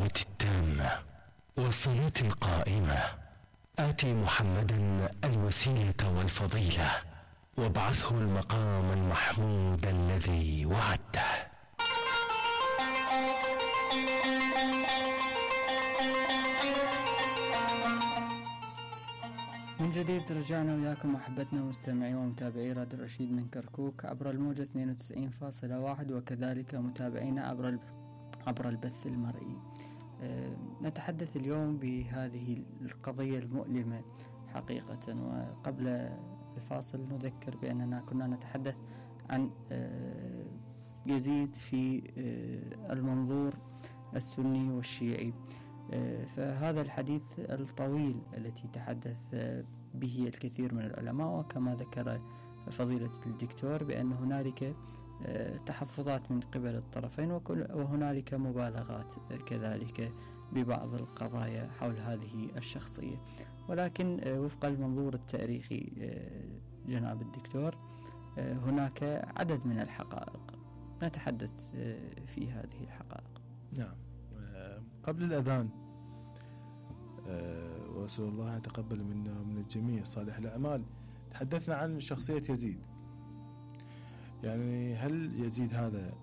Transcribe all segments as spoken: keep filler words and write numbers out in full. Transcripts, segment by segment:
الدعوة التامة والصلاة القائمة آتي محمدا الوسيلة والفضيلة وابعثه المقام المحمود الذي وعدته. من جديد رجعنا وياكم أحبتنا ومستمعي ومتابعي راديو الرشيد من كركوك عبر الموجة اثنين وتسعين فاصلة واحد، وكذلك متابعينا عبر عبر البث المرئي. أه نتحدث اليوم بهذه القضية المؤلمة حقيقة، وقبل الفاصل نذكر بأننا كنا نتحدث عن أه يزيد في أه المنظور السني والشيعي. فهذا الحديث الطويل التي تحدث به الكثير من العلماء، وكما ذكر فضيلة الدكتور بأن هنالك تحفظات من قبل الطرفين وهنالك مبالغات كذلك ببعض القضايا حول هذه الشخصية، ولكن وفق المنظور التاريخي جناب الدكتور هناك عدد من الحقائق نتحدث في هذه الحقائق. نعم. قبل الأذان أه وأسأل الله أن يتقبل منا ومن الجميع صالح الأعمال تحدثنا عن شخصية يزيد. يعني هل يزيد هذا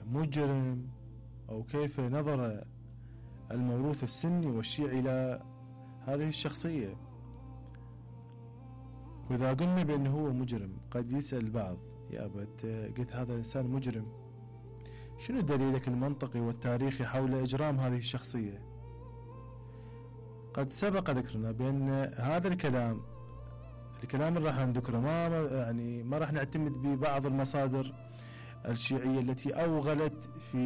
مجرم، أو كيف نظر الموروث السني والشيعي إلى هذه الشخصية؟ وإذا قلنا بأنه هو مجرم قد يسأل البعض يا أبد قلت هذا إنسان مجرم، شنو دليلك المنطقي والتاريخي حول إجرام هذه الشخصية؟ قد سبق ذكرنا بأن هذا الكلام الكلام اللي راح نذكره ما يعني ما راح نعتمد ببعض المصادر الشيعية التي أوغلت في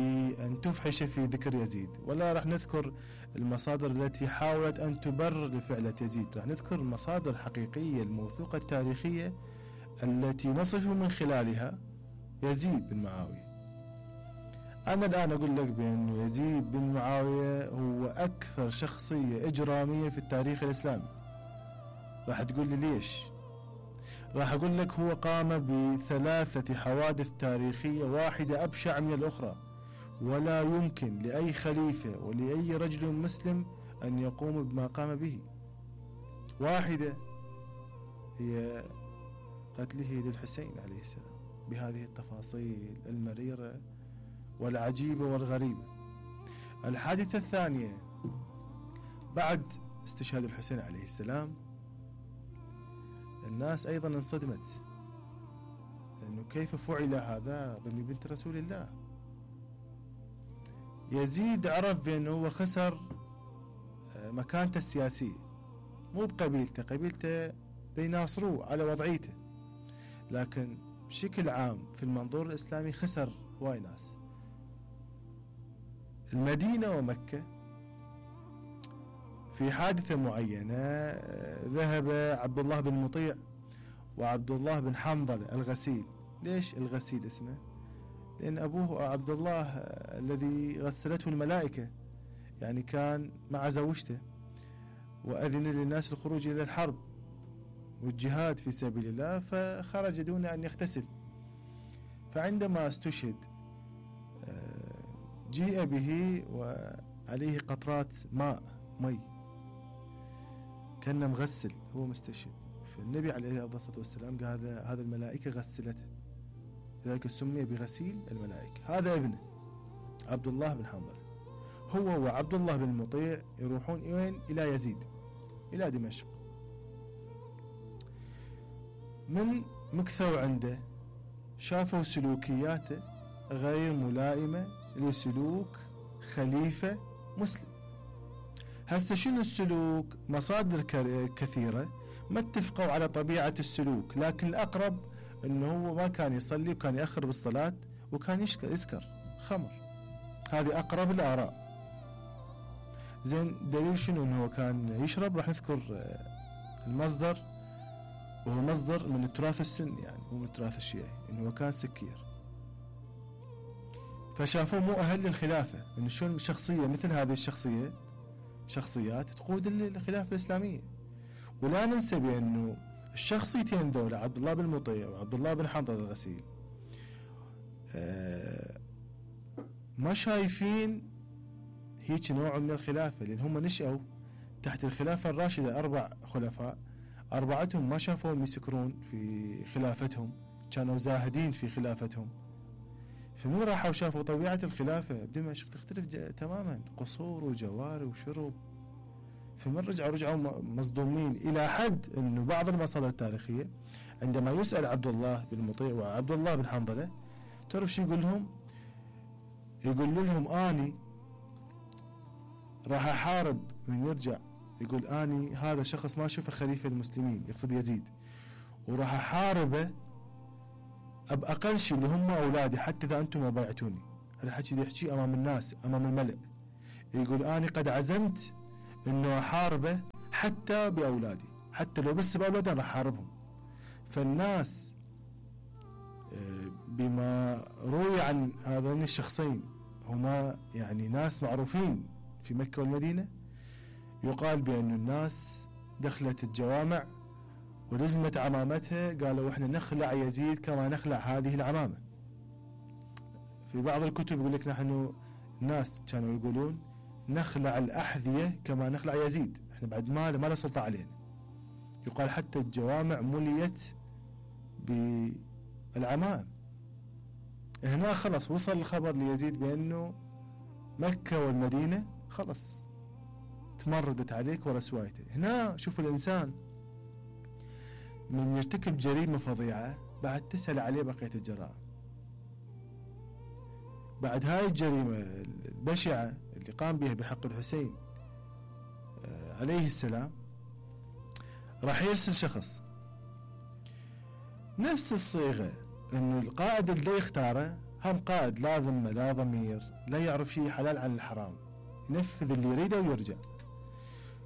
أن تفحش في ذكر يزيد، ولا راح نذكر المصادر التي حاولت أن تبرر لفعلة يزيد. راح نذكر المصادر الحقيقية الموثوقة التاريخية التي نصف من خلالها يزيد بن معاوية. أنا الآن أقول لك بأن يزيد بن معاوية هو أكثر شخصية إجرامية في التاريخ الإسلامي. راح تقول لي ليش؟ راح أقول لك هو قام بثلاثة حوادث تاريخية واحدة أبشع من الأخرى، ولا يمكن لأي خليفة ولأي رجل مسلم أن يقوم بما قام به. واحدة هي قتله للحسين عليه السلام بهذه التفاصيل المريرة والعجيبة والغريبة. الحادثة الثانية بعد استشهاد الحسين عليه السلام الناس أيضا انصدمت أنه كيف فعل هذا بأم بنت رسول الله. يزيد عرف بأنه هو خسر مكانته السياسية، مو بقبيلته، قبيلته يناصروه على وضعيته، لكن بشكل عام في المنظور الإسلامي خسر هواي ناس. المدينة ومكة في حادثة معينة ذهب عبد الله بن مطيع وعبد الله بن حنظلة الغسيل. ليش الغسيل اسمه؟ لأن أبوه عبد الله الذي غسلته الملائكة، يعني كان مع زوجته وأذن للناس الخروج إلى الحرب والجهاد في سبيل الله، فخرج دون أن يغتسل. فعندما استشهد جيء به وعليه قطرات ماء مي كان مغسل، هو مستشهد. فالنبي عليه الصلاة والسلام قال هذا هذا الملائكة غسلته، لذلك سمي بغسيل الملائكة. هذا ابنه عبد الله بن حنظل. هو وعبد الله بن مطيع يروحون وين؟ إلى يزيد، إلى دمشق. من مكثوا عنده شافوا سلوكياته غير ملائمة لسلوك خليفة مسلم. هسه شنو السلوك؟ مصادر كثيرة ما اتفقوا على طبيعة السلوك، لكن الأقرب أنه هو ما كان يصلي وكان يأخر بالصلاة وكان يسكر خمر. هذه أقرب الآراء. زين دليل شنو أنه كان يشرب؟ راح نذكر المصدر، وهو مصدر من التراث السني، يعني مو من التراث الشيعي، أنه كان سكير. فشافوه مو أهل للخلافة، أنه شلون شخصية مثل هذه الشخصية شخصيات تقود الخلافة الإسلامية. ولا ننسى بأنه الشخصيتين ذولا عبد الله بن مطيع وعبد الله بن حنظل الغسيل آه ما شايفين هيك نوع من الخلافة، لأن هم نشأوا تحت الخلافة الراشدة أربع خلفاء، أربعتهم ما شافوهم يسكرون في خلافتهم، كانوا زاهدين في خلافتهم. فمن راحوا وشافوا طبيعة الخلافة بدمشق تختلف تماما، قصور وجواري وشرب. فمن رجعوا رجعوا مصدومين، إلى حد أنه بعض المصادر التاريخية عندما يسأل عبد الله بن مطيع وعبد الله بن حنظلة تعرف شو يقول لهم؟ يقول لهم آني راح أحارب من يرجع، يقول آني هذا شخص ما أشوفه خليفة المسلمين، يقصد يزيد، وراح أحاربه بأقل شيء اللي هم أولادي حتى إذا أنتم ما بايعتوني. هذا الحكي يحكي أمام الناس أمام الملأ، يقول آني قد عزمت إنه أحاربه حتى بأولادي، حتى لو بس بأولادي راح أحاربهم. فالناس بما روي عن هذين الشخصين هما يعني ناس معروفين في مكة والمدينة، يقال بأن الناس دخلت الجوامع ولزمت عمامتها، قالوا احنا نخلع يزيد كما نخلع هذه العمامة. في بعض الكتب يقول لك نحن الناس كانوا يقولون نخلع الأحذية كما نخلع يزيد، احنا بعد ما ما له سلطة علينا. يقال حتى الجوامع مليت بالعمائم. هنا خلص وصل الخبر ليزيد بأنه مكة والمدينة خلص تمردت عليك ورسوايته. هنا شوف الإنسان من يرتكب جريمة فظيعة بعد تسأل عليه بقية الجرائم. بعد هاي الجريمة البشعة اللي قام بها بحق الحسين عليه السلام راح يرسل شخص نفس الصيغة، انه القائد اللي يختاره هم قائد لا ذمة لا ضمير، لا يعرف شيء حلال عن الحرام، ينفذ اللي يريده ويرجع.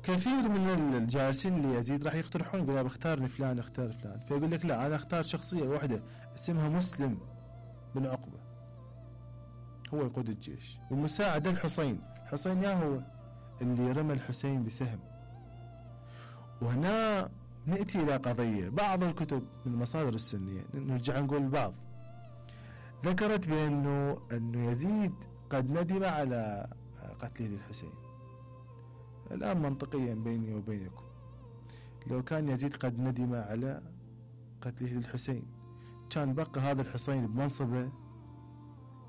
كثير من الجالسين اللي يزيد راح يقترحون يقول بختارني فلان اختار فلان، فيقول لك لا انا اختار شخصية واحدة اسمها مسلم بن عقبة، هو يقود الجيش ومساعد الحسين. حسين يا هو اللي رمى الحسين بسهم. وهنا نأتي إلى قضية بعض الكتب من المصادر السنية، نرجع نقول البعض ذكرت بأنه أنه يزيد قد ندم على قتله للحسين. الآن منطقيا بيني وبينكم لو كان يزيد قد ندم على قتله للحسين كان بقى هذا الحسين بمنصبه،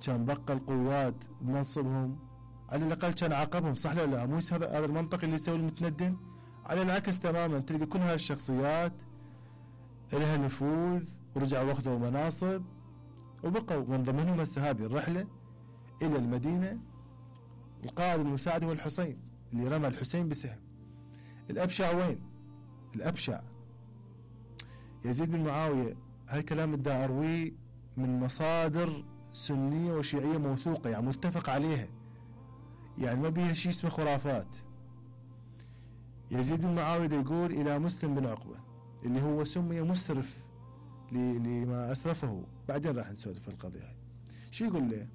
كان بقى القوات بمنصبهم، على الأقل كان عاقبهم، صح لا لا؟ مو هذا هذا المنطق اللي يسوي المتندم. على العكس تماما تلقى كل هاي الشخصيات لها نفوذ ورجعوا واخذوا مناصب وبقوا، من ضمنهم هسه هذه الرحلة إلى المدينة القائد المساعد هو الحسين اللي رمى الحسين بسهم. الأبشع وين؟ الأبشع يزيد بن معاوية. هالكلام دا أرويه من مصادر سنية وشيعية موثوقة، يعني متفق عليها، يعني ما بيها شيء اسمه خرافات. يزيد بن معاوية يقول إلى مسلم بن عقبة اللي هو سمي مسرف لما أسرفه، بعدين راح نسولف في القضية هاي. شو يقول له؟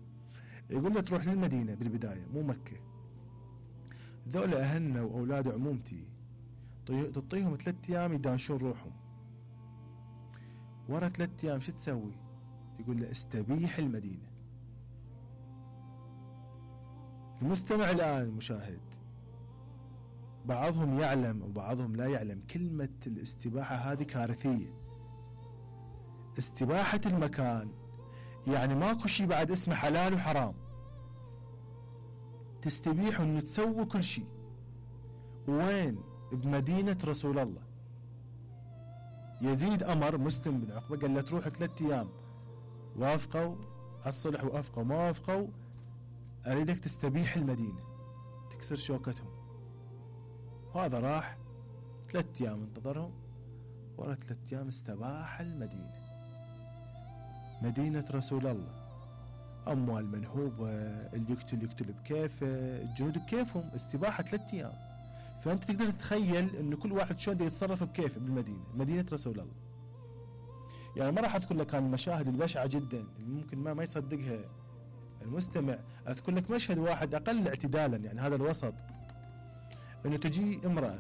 يقول له تروح للمدينة بالبداية مو مكة، ذولا أهلنا وأولاد عمومتي تعطيهم ثلاثة أيام يدانشون روحهم، ورا ثلاثة أيام شو تسوي؟ يقول له استبيح المدينة. المستمع الآن المشاهد بعضهم يعلم وبعضهم لا يعلم كلمة الاستباحة هذه كارثية. استباحة المكان يعني ماكو شيء بعد اسمه حلال وحرام، تستبيح انه تسوي كل شيء. وين؟ بمدينة رسول الله. يزيد أمر مسلم بن عقبة قال له تروح ثلاثة أيام، وافقوا على الصلح وافقوا ما وافقوا أريدك تستبيح المدينة تكسر شوكتهم. وهذا راح ثلاثة أيام انتظرهم، ورا ثلاثة أيام استباح المدينة، مدينة رسول الله. أموال منهوبة، اللي يقتل يقتل بكيفه، الجنود بكيفهم، استباحة ثلاثة أيام. فأنت تقدر تتخيل أن كل واحد شلون يتصرف بكيفه بالمدينة، مدينة رسول الله. يعني ما راح أذكر لك عن المشاهد البشعة جدا اللي ممكن ما ما يصدقها المستمع. أذكر لك مشهد واحد أقل اعتدالا، يعني هذا الوسط، أنه تجي امرأة،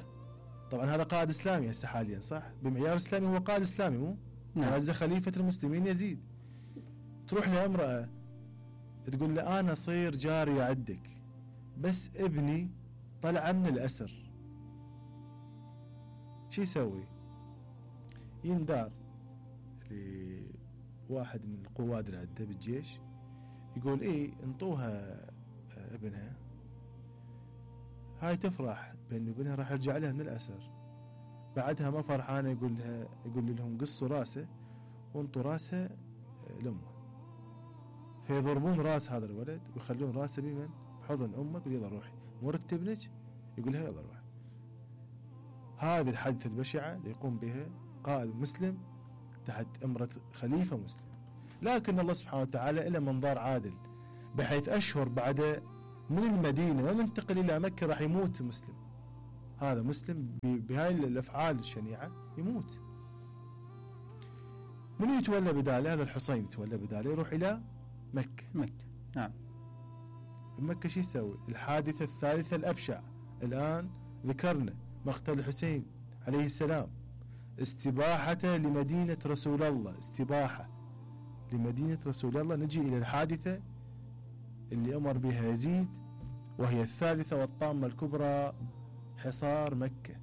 طبعا هذا قائد إسلامي هسه حاليا صح؟ بمعيار إسلامي هو قائد إسلامي مو؟ نعم. هذا خليفة المسلمين يزيد. تروح لامرأة تقول له أنا صير جارية عندك بس ابني طلع من الأسر، شو يسوي؟ يندار لواحد من القواد اللي عنده بالجيش، يقول ايه انطوها ابنها، هاي تفرح بأن ابنها راح يرجع لها من الأسر. بعدها ما فرحانة يقول لها يقول لهم قصوا راسه وانطوا راسها لأمه، فيضربون راس هذا الولد ويخلون راسه بمن؟ بحضن أمه، يقول يلا روحي مرت ابنك، يقول لها يلا روحي. هذه الحادثة البشعة يقوم بها قائد مسلم تحت أمرة خليفة مسلم، لكن الله سبحانه وتعالى إلى منظار عادل، بحيث أشهر بعد من المدينة ما منتقل إلى مكة راح يموت مسلم، هذا مسلم بهاي الأفعال الشنيعة يموت. من يتولى بداله؟ هذا الحسين يتولى بداله، يروح إلى مكة. مكة نعم. بمكة شو يسوي؟ الحادثة الثالثة الأبشع الآن ذكرنا، مقتل الحسين عليه السلام، استباحته لمدينة رسول الله، استباحة لمدينة رسول الله. نجي إلى الحادثة اللي أمر بها يزيد، وهي الثالثة والطامة الكبرى، حصار مكة.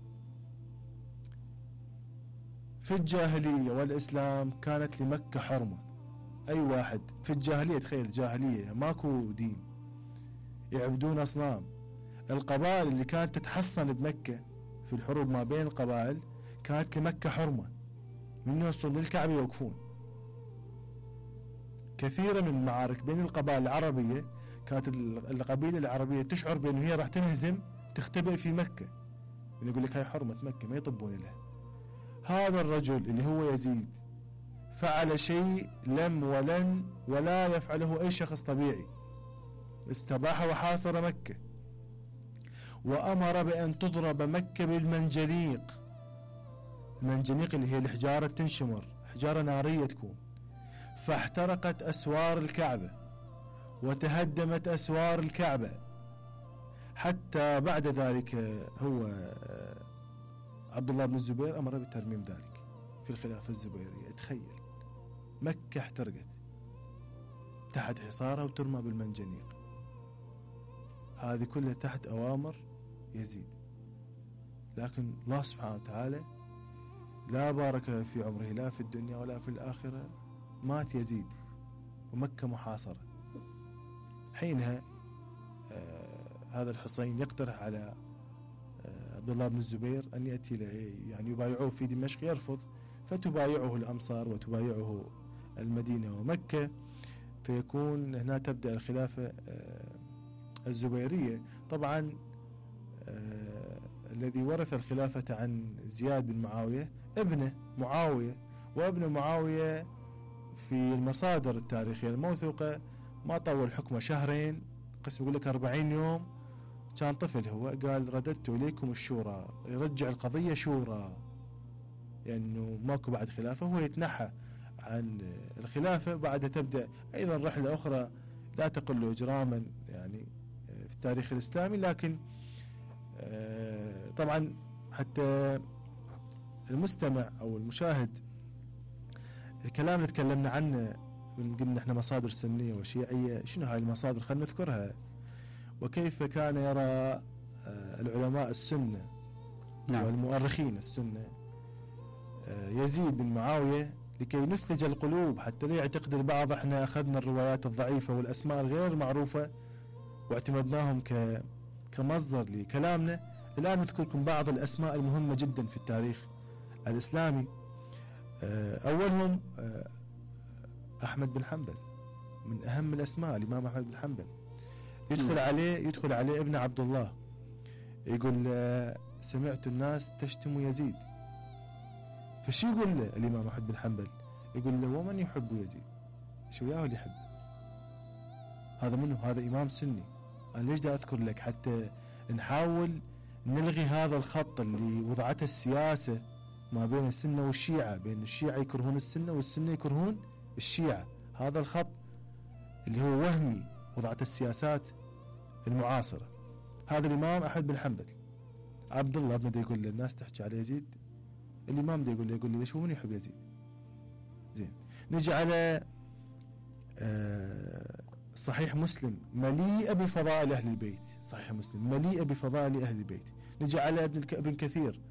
في الجاهلية والإسلام كانت لمكة حرمة، أي واحد في الجاهلية، تخيل الجاهلية ماكو دين، يعبدون أصنام، القبائل اللي كانت تتحصن بمكة في الحروب ما بين القبائل كانت لمكة حرمة، من يوصلون للكعبة يوقفون. كثيرا من المعارك بين القبائل العربية كانت القبيلة العربية تشعر بأنه هي راح تنهزم، تختبئ في مكة، يقول لك هاي حرمة مكة ما يطبون لها. هذا الرجل اللي هو يزيد فعل شيء لم ولن ولا يفعله أي شخص طبيعي، استباح وحاصر مكة، وأمر بأن تضرب مكة بالمنجنيق. المنجنيق اللي هي الحجارة تنشمر، حجارة نارية تكون، فاحترقت أسوار الكعبة وتهدمت أسوار الكعبة. حتى بعد ذلك هو عبد الله بن الزبير أمر بترميم ذلك في الخلافة الزبيرية. تخيل مكة احترقت تحت حصارها وترمى بالمنجنيق، هذه كلها تحت أوامر يزيد. لكن الله سبحانه وتعالى لا بارك في عمره لا في الدنيا ولا في الآخرة، مات يزيد ومكة محاصرة. حينها آه هذا الحسين يقترح على آه عبد الله بن الزبير أن يأتي يعني يبايعوه في دمشق، يرفض، فتبايعه الأمصار وتبايعه المدينة ومكة، فيكون هنا تبدأ الخلافة آه الزبيرية. طبعا آه الذي ورث الخلافة عن زياد بن معاوية ابنه معاوية، وابن معاوية في المصادر التاريخية الموثوقة ما طول حكمه شهرين، قسم يقول لك أربعين يوم، كان طفل هو، قال رددت إليكم الشورى، يرجع القضية شورى، لأنه يعني ماكو بعد خلافة، هو يتنحى عن الخلافة. بعدها تبدأ أيضا رحلة أخرى لا تقل إجراما يعني في التاريخ الإسلامي، لكن طبعا حتى المستمع أو المشاهد الكلام اللي تكلمنا عنه من قلنا احنا مصادر سنية وشيعية، شنو هاي المصادر؟ خلينا نذكرها. وكيف كان يرى العلماء السنة نعم. والمؤرخين السنة يزيد بن معاوية لكي نثلج القلوب، حتى لا يعتقد البعض احنا أخذنا الروايات الضعيفة والأسماء الغير معروفة واعتمدناهم ك كمصدر لكلامنا. الآن نذكركم بعض الأسماء المهمة جدا في التاريخ الإسلامي. أولهم أحمد بن حنبل، من أهم الأسماء الإمام أحمد بن حنبل. يدخل عليه يدخل عليه ابن عبد الله، يقول سمعت الناس تشتم يزيد، فشي يقول له الإمام أحمد بن حنبل؟ يقول له ومن يحب يزيد؟ شو وياه اللي يحبه؟ هذا منه؟ هذا إمام سني. أنا ليش دا أذكر لك؟ حتى نحاول نلغي هذا الخط اللي وضعته السياسة ما بين السنة والشيعة، بين الشيعة يكرهون السنة والسنة يكرهون الشيعة. هذا الخط اللي هو وهمي وضعته السياسات المعاصرة. هذا الإمام أحمد بن حنبل. عبد الله بن يقول للناس تحكي على يزيد، الإمام ده يقول له يقول لي ليش هو من يحب يزيد؟ زين، نجي على صحيح مسلم مليئة بفضائل أهل البيت، صحيح مسلم مليئة بفضائل أهل البيت. نجي على ابن ابن كثير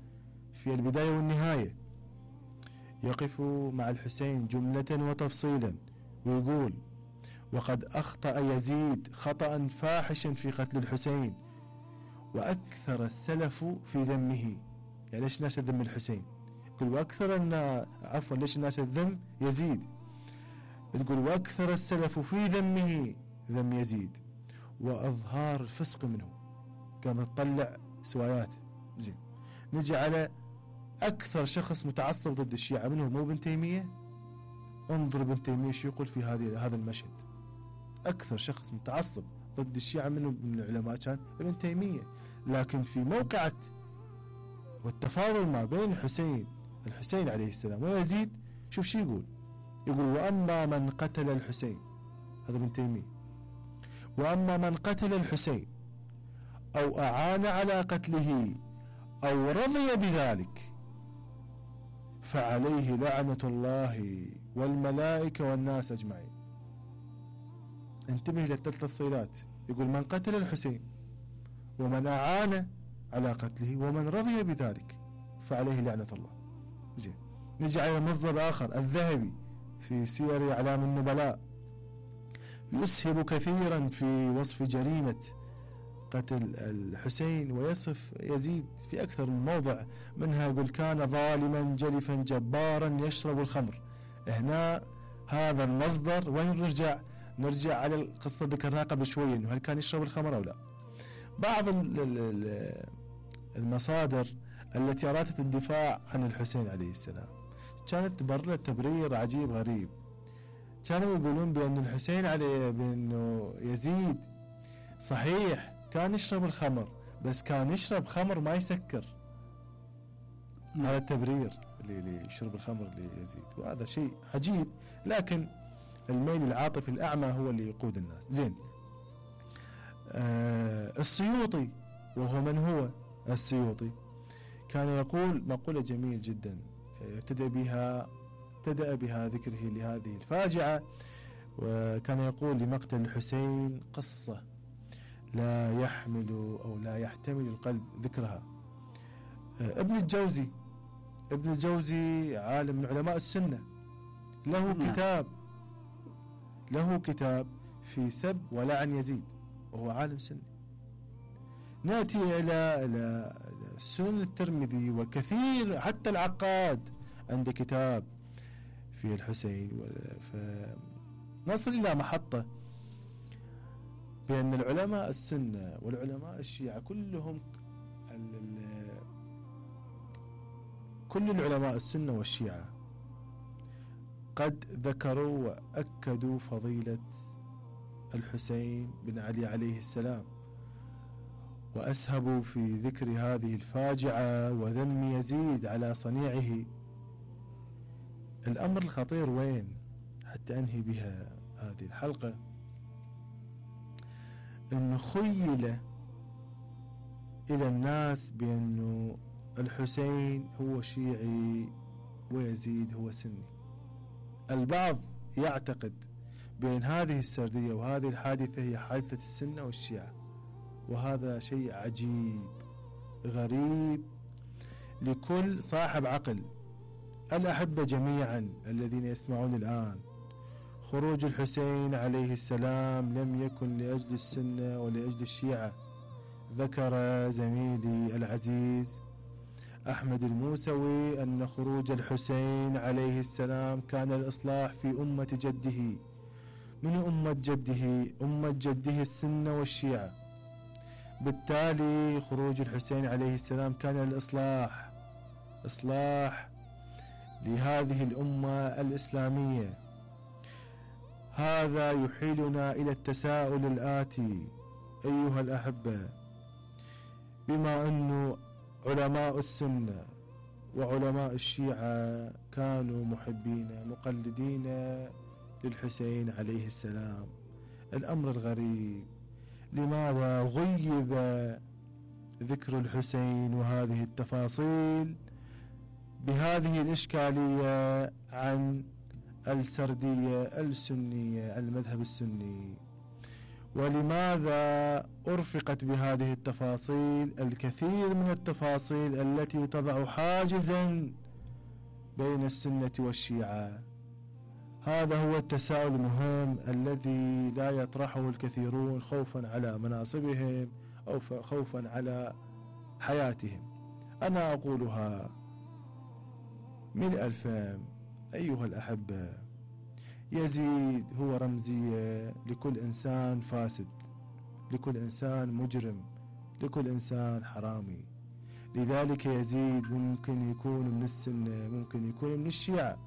في البداية والنهاية يقف مع الحسين جملة وتفصيلا ويقول: وقد أخطأ يزيد خطأ فاحشا في قتل الحسين وأكثر السلف في ذمه. يعني ليش الناس تذم الحسين؟ يقول وأكثر الناس، عفوا ليش الناس تذم يزيد؟ يقول وأكثر السلف في ذمه ذم يزيد وأظهار الفسق منه. كما تطلع سوايات. زين، نجي على أكثر شخص متعصب ضد الشيعة منه مو ابن تيمية. انظر ابن تيمية شو يقول في هذه هذا المشهد. أكثر شخص متعصب ضد الشيعة منه من العلماء كان ابن تيمية. لكن في موقعة والتفاضل ما بين الحسين الحسين عليه السلام ويزيد، شوف شو يقول. يقول: وأما من قتل الحسين، هذا ابن تيمية، وأما من قتل الحسين أو أعان على قتله أو رضي بذلك فعليه لعنة الله والملائكة والناس أجمعين. انتبه للثلاث تفصيلات. يقول: من قتل الحسين ومن أعان على قتله ومن رضي بذلك فعليه لعنة الله. زين، نجي على مصدر آخر الذهبي في سير أعلام النبلاء، يسهب كثيرا في وصف جريمة قتل الحسين ويصف يزيد في أكثر من موضع. منها يقول: كان ظالما جلفا جبارا يشرب الخمر. هنا هذا المصدر وين نرجع؟ نرجع على القصة ذكرناها قبل شوي، إنه هل كان يشرب الخمر أو لا. بعض المصادر التي أرادت الدفاع عن الحسين عليه السلام كانت تبرر تبرير عجيب غريب. كانوا يقولون بأن الحسين عليه بأنه يزيد صحيح كان يشرب الخمر، بس كان يشرب خمر ما يسكر. هذا التبرير اللي يشرب الخمر ليزيد، وهذا شيء عجيب. لكن الميل العاطفي الأعمى هو اللي يقود الناس. زين، آه السيوطي، وهو من هو السيوطي، كان يقول مقولة جميل جدا ابتدأ بها ابتدأ بها ذكره لهذه الفاجعة، وكان يقول: لمقتل الحسين قصة لا يحمل أو لا يحتمل القلب ذكرها. آه ابن الجوزي ابن الجوزي عالم من علماء السنة، له نعم. كتاب له كتاب في سب ولعن يزيد، وهو عالم سني. نأتي إلى إلى سنن الترمذي وكثير، حتى العقاد عنده كتاب في الحسين. فنصل إلى محطة بأن العلماء السنة والعلماء الشيعة كلهم كل العلماء السنة والشيعة قد ذكروا وأكدوا فضيلة الحسين بن علي عليه السلام، وأسهبوا في ذكر هذه الفاجعة وذم يزيد على صنيعه. الأمر الخطير وين حتى أنهي بها هذه الحلقة؟ أنه خيل إلى الناس بأنه الحسين هو شيعي ويزيد هو سني. البعض يعتقد بأن هذه السردية وهذه الحادثة هي حادثة السنة والشيعة، وهذا شيء عجيب غريب لكل صاحب عقل. الأحبة جميعا الذين يسمعون الآن، خروج الحسين عليه السلام لم يكن لأجل السنة ولأجل الشيعة. ذكر زميلي العزيز أحمد الموسوي أن خروج الحسين عليه السلام كان الإصلاح في أمة جده. من أمة جده؟ أمة جده السنة والشيعة. بالتالي خروج الحسين عليه السلام كان الإصلاح إصلاح لهذه الأمة الإسلامية. هذا يحيلنا إلى التساؤل الآتي أيها الأحبة: بما أن علماء السنة وعلماء الشيعة كانوا محبين مقلدين للحسين عليه السلام، الأمر الغريب لماذا غيب ذكر الحسين وهذه التفاصيل بهذه الإشكالية عن السردية السنية المذهب السني؟ ولماذا أرفقت بهذه التفاصيل الكثير من التفاصيل التي تضع حاجزا بين السنة والشيعة؟ هذا هو التساؤل المهم الذي لا يطرحه الكثيرون خوفا على مناصبهم أو خوفا على حياتهم. أنا أقولها ملء الفم. أيها الأحبة، يزيد هو رمزية لكل إنسان فاسد، لكل إنسان مجرم، لكل إنسان حرامي. لذلك يزيد ممكن يكون من السنة، ممكن يكون من الشيعة.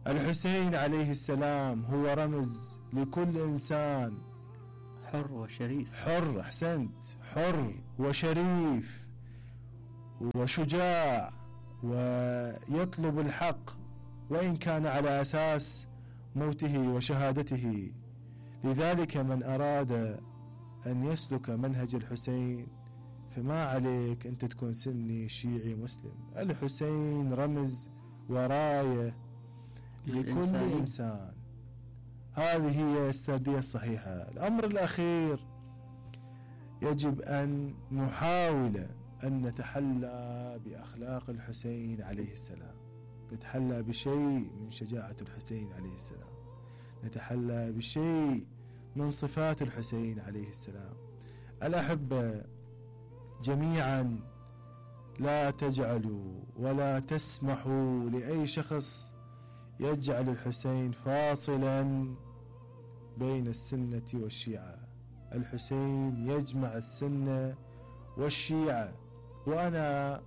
الحسين عليه السلام هو رمز لكل إنسان حر وشريف. حر، أحسنت، حر وشريف وشجاع ويطلب الحق وإن كان على أساس موته وشهادته. لذلك من أراد أن يسلك منهج الحسين فما عليك أنت تكون سني شيعي مسلم. الحسين رمز وراية لكل إنسان. هذه هي السردية الصحيحة. الأمر الأخير، يجب أن نحاول أن نتحلى بأخلاق الحسين عليه السلام، نتحلى بشيء من شجاعة الحسين عليه السلام، نتحلى بشيء من صفات الحسين عليه السلام. الأحبة جميعا، لا تجعلوا ولا تسمحوا لأي شخص يجعل الحسين فاصلا بين السنة والشيعة. الحسين يجمع السنة والشيعة، وأنا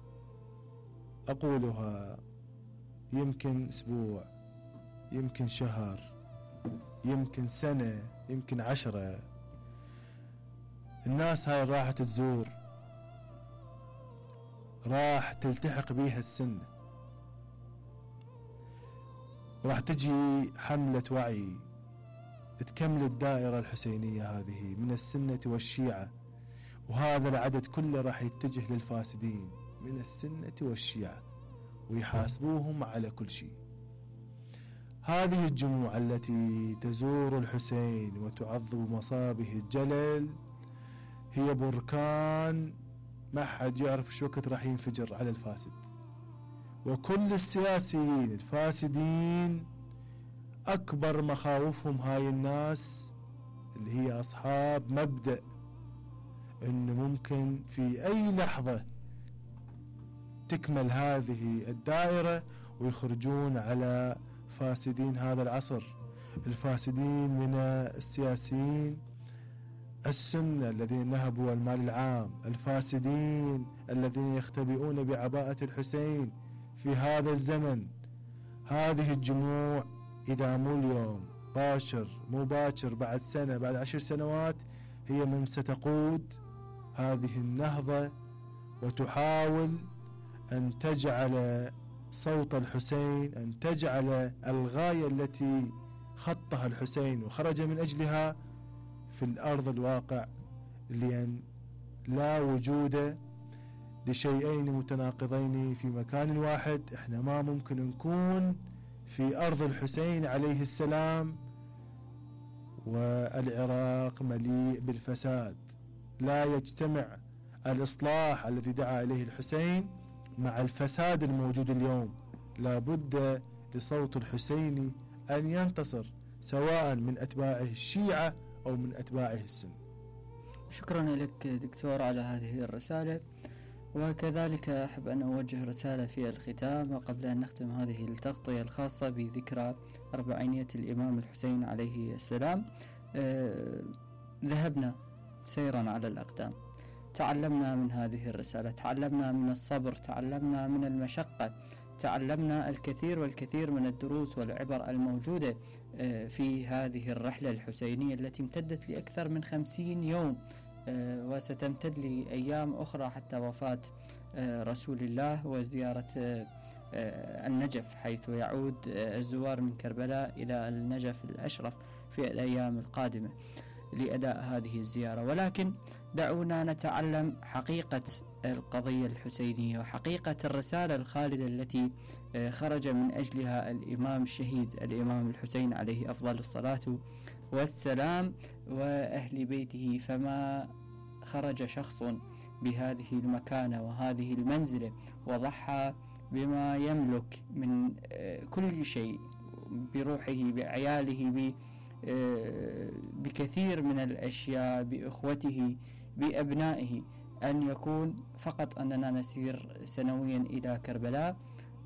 أقولها يمكن أسبوع، يمكن شهر، يمكن سنة، يمكن عشرة. الناس هاي راح تزور، راح تلتحق بيها السنة، راح تجي حملة وعي تكمل الدائرة الحسينية هذه من السنة والشيعة، وهذا العدد كله راح يتجه للفاسدين من السنة والشيعة ويحاسبوهم على كل شيء. هذه الجموع التي تزور الحسين وتعظم مصابه الجلل هي بركان ما حد يعرف شو وقت راح ينفجر على الفاسد. وكل السياسيين الفاسدين أكبر مخاوفهم هاي الناس اللي هي أصحاب مبدأ إنه ممكن في أي لحظة تكمل هذه الدائرة ويخرجون على فاسدين هذا العصر، الفاسدين من السياسيين السنة الذين نهبوا المال العام، الفاسدين الذين يختبئون بعباءة الحسين في هذا الزمن. هذه الجموع إذا مو اليوم باشر مو باكر بعد سنة بعد عشر سنوات هي من ستقود هذه النهضة وتحاول أن تجعل صوت الحسين، أن تجعل الغاية التي خطها الحسين وخرج من أجلها في الأرض الواقع، لأن لا وجود لشيئين متناقضين في مكان واحد. احنا ما ممكن نكون في أرض الحسين عليه السلام والعراق مليء بالفساد. لا يجتمع الإصلاح الذي دعا إليه الحسين مع الفساد الموجود اليوم. لا بد لصوت الحسين أن ينتصر سواء من أتباعه الشيعة أو من أتباعه السنة. شكرا لك دكتور على هذه الرسالة، وكذلك أحب أن أوجه رسالة في الختام وقبل أن نختم هذه التغطية الخاصة بذكرى أربعينية الإمام الحسين عليه السلام. أه ذهبنا سيرا على الأقدام، تعلمنا من هذه الرسالة، تعلمنا من الصبر، تعلمنا من المشقة، تعلمنا الكثير والكثير من الدروس والعبر الموجودة في هذه الرحلة الحسينية التي امتدت لأكثر من خمسين يوم وستمتد لأيام أخرى حتى وفاة رسول الله وزيارة النجف، حيث يعود الزوار من كربلاء إلى النجف الأشرف في الأيام القادمة لأداء هذه الزيارة. ولكن دعونا نتعلم حقيقة القضية الحسينية وحقيقة الرسالة الخالدة التي خرج من أجلها الإمام الشهيد الإمام الحسين عليه أفضل الصلاة والسلام وأهل بيته. فما خرج شخص بهذه المكانة وهذه المنزلة وضحى بما يملك من كل شيء، بروحه، بعياله، بكثير من الأشياء، بإخوته، بأبنائه، أن يكون فقط أننا نسير سنويا إلى كربلاء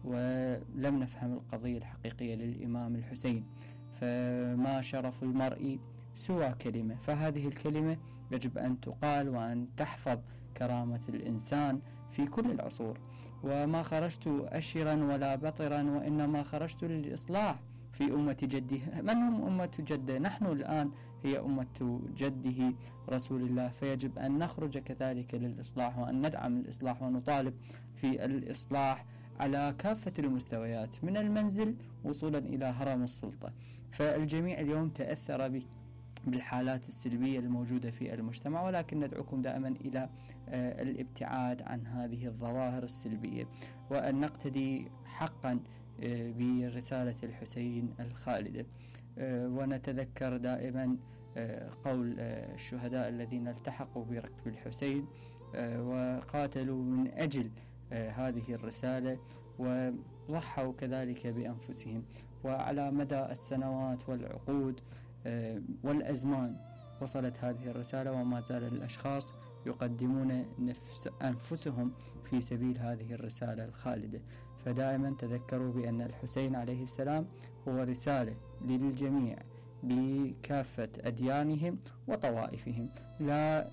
ولم نفهم القضية الحقيقية للإمام الحسين. فما شرف المرء سوى كلمة، فهذه الكلمة يجب أن تقال وأن تحفظ كرامة الإنسان في كل العصور. وما خرجت أشرا ولا بطرا، وإنما خرجت للإصلاح في أمة جده. من هم أمة جده؟ نحن الآن هي أمة جده رسول الله، فيجب أن نخرج كذلك للإصلاح وأن ندعم الإصلاح ونطالب في الإصلاح على كافة المستويات من المنزل وصولا إلى هرم السلطة. فالجميع اليوم تأثر بالحالات السلبية الموجودة في المجتمع، ولكن ندعوكم دائما إلى الابتعاد عن هذه الظواهر السلبية وأن نقتدي حقا برسالة الحسين الخالدة. ونتذكر دائما قول الشهداء الذين التحقوا بركب الحسين وقاتلوا من أجل هذه الرسالة وضحوا كذلك بأنفسهم. وعلى مدى السنوات والعقود والأزمان وصلت هذه الرسالة، وما زال الأشخاص يقدمون نفس أنفسهم في سبيل هذه الرسالة الخالدة. فدائما تذكروا بأن الحسين عليه السلام هو رسالة للجميع بكافة أديانهم وطوائفهم. لا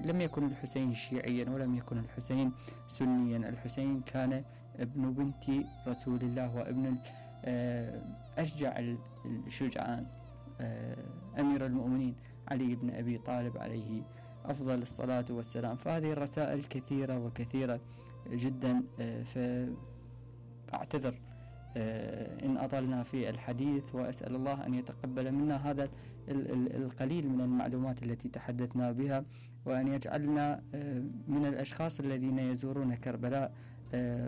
لم يكن الحسين شيعيا ولم يكن الحسين سنيا، الحسين كان ابن بنت رسول الله وابن أشجع الشجعان أمير المؤمنين علي بن أبي طالب عليه أفضل الصلاة والسلام. فهذه الرسائل كثيرة وكثيرة جدا، فأعتذر إن أطلنا في الحديث، وأسأل الله أن يتقبل منا هذا القليل من المعلومات التي تحدثنا بها، وأن يجعلنا من الأشخاص الذين يزورون كربلاء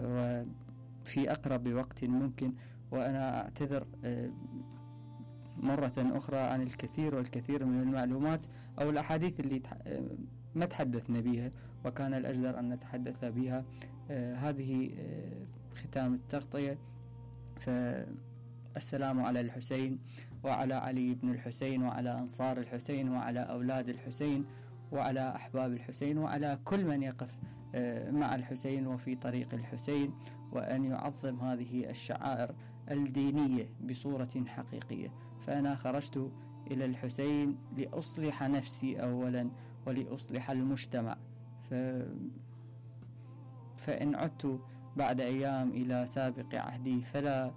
وفي أقرب وقت ممكن. وأنا أعتذر مرة أخرى عن الكثير والكثير من المعلومات أو الأحاديث اللي ما تحدثنا بها وكان الأجدر أن نتحدث بها. هذه ختام التغطية. فالسلام على الحسين وعلى علي بن الحسين وعلى أنصار الحسين وعلى أولاد الحسين وعلى أحباب الحسين وعلى كل من يقف مع الحسين وفي طريق الحسين، وأن يعظم هذه الشعائر الدينية بصورة حقيقية. فأنا خرجت إلى الحسين لأصلح نفسي أولا ولأصلح المجتمع. ف... فإن عدت بعد أيام إلى سابق عهدي فلا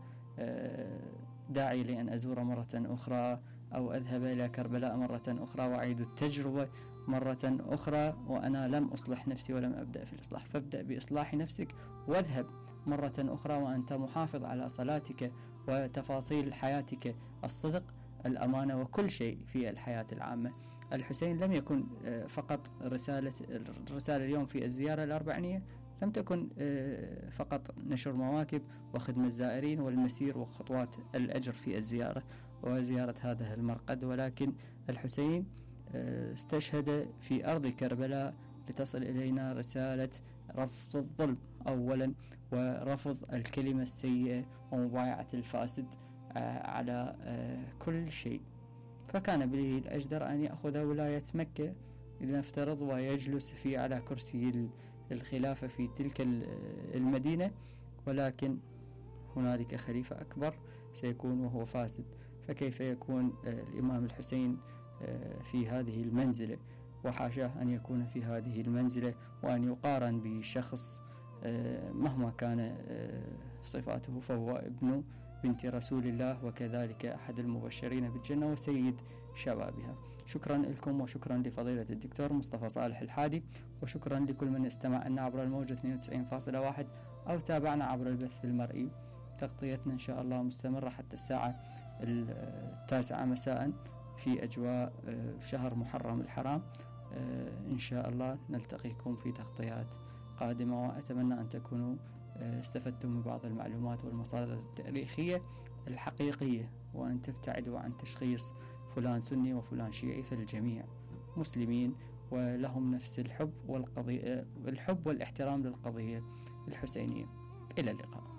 داعي لأن أزور مرة أخرى أو أذهب إلى كربلاء مرة أخرى وأعيد التجربة مرة أخرى وأنا لم أصلح نفسي ولم أبدأ في الإصلاح. فابدأ بإصلاح نفسك واذهب مرة أخرى وأنت محافظ على صلاتك وتفاصيل حياتك، الصدق، الأمانة، وكل شيء في الحياة العامة. الحسين لم يكن فقط رسالة الرسالة اليوم في الزيارة الأربعينية لم تكن فقط نشر مواكب وخدمة الزائرين والمسير وخطوات الأجر في الزيارة وزيارة هذا المرقد، ولكن الحسين استشهد في أرض كربلاء لتصل إلينا رسالة رفض الظلم أولا ورفض الكلمة السيئة ومبايعة الفاسد على كل شيء. فكان به الأجدر أن يأخذ ولاية مكة لنفترض ويجلس في على كرسي الخلافة في تلك المدينة، ولكن هنالك خليفة أكبر سيكون وهو فاسد. فكيف يكون الإمام الحسين في هذه المنزلة؟ وحاشاه أن يكون في هذه المنزلة وأن يقارن بشخص مهما كان صفاته فهو ابن بنت رسول الله وكذلك أحد المبشرين بالجنة وسيد شبابها. شكرا لكم وشكرا لفضيلة الدكتور مصطفى صالح الحادي، وشكرا لكل من استمع لنا عبر الموجة اثنين وتسعين فاصلة واحد أو تابعنا عبر البث المرئي. تغطيتنا إن شاء الله مستمرة حتى الساعة التاسعة مساء في أجواء شهر محرم الحرام. إن شاء الله نلتقيكم في تغطيات قادمة، وأتمنى أن تكونوا استفدتم من بعض المعلومات والمصادر التاريخية الحقيقية، وأن تبتعدوا عن تشخيص فلان سني وفلان شيعي، فالجميع مسلمين ولهم نفس الحب والقضية الحب والاحترام للقضية الحسينية. إلى اللقاء.